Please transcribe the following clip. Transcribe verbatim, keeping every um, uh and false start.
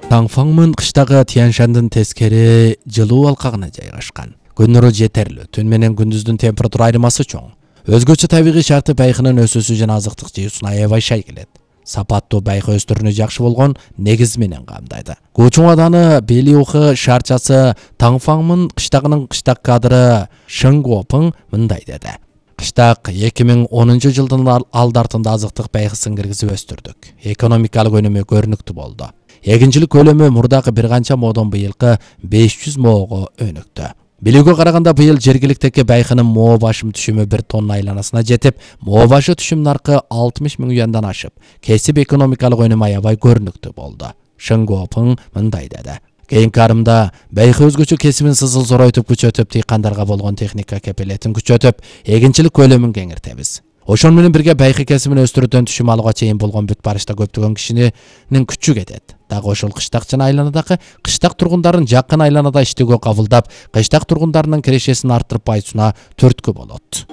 Таңфаңмын кыштагы Тяньшандын тескери жылуу алкагына жайгашкан. Күн нуру жетерлүү, түн менен күндүздүн температура айырмасы чоң. Өзгөчө табигый шарты байкынын өсүүсү жана азыктык жыюусуна аябай шай келет. Сапаттуу байкы өстүрүүнү жакшы болгон негиз менен камдайды. Гучуңаданы Белиухы шаарчасы Таңфаңмын кыштагынын кыштак кадры Шыңгуопың мындай деди. Кыштак эки миң онунчу жылдын алдартында азыктык байкысын киргизип өстүрдүк. Экономикалык өнүмү көрүнүктүү болду. Эгинчилик көлөмү мурдагы бир канча моодон быйылкы беш жүз моого өнүктү. Билүүгө караганда быйыл жергиликтеги байкынын моо башым түшүмү бир тонна айланасына жетип, моо башы түшүм наркы алтымыш миң юандан ашып, кесип экономикалык өнүм аябай көрүнүктүү болду. Шыңгуопың мындай деди. Кийинки арымда байкы өзгөчө кесибин сызыл зоройтуп күчөтүп, тыйкандарга болгон техника кепилетин күчөтүп, эгинчилик көлөмүн кеңиртебиз. Ошон менен бирге байкы кесибин өстүрүүдөн түшүм алууга чейин болгон бүт барышта көптөгөн кишинин күчү кетет. Дагы ошол кыштак жана айланадагы кыштак тургундарын жакын айланада иштөөгө кабылдап, кыштак тургундарынын кирешесин арттырып, пайызына төрткө болот.